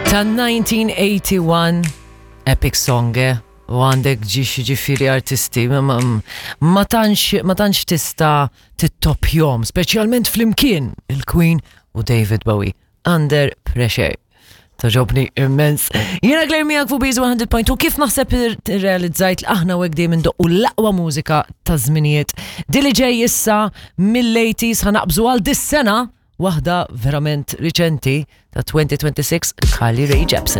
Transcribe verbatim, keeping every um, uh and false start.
Ta' nineteen eighty-one, epic song, eh? U għandek ġiex ġifiri artisti, ma, ma, ma tantx ma tantx tista' tittopjom, speċjalment flimkien il-Queen u David Bowie. Under Pressure. Togħġobni immens. Jiena Claire miegħek fuq Beats one hundred point two, kif naħseb realizzajt li aħna u dejjem indoqqu l-aqwa mużika ta' żminijiet. Dili ġej issa mill-eighties, ħa naqbżu għal dis-sena, waħda verament riċenti ta' twenty twenty-six, Carly Rae Jepsen.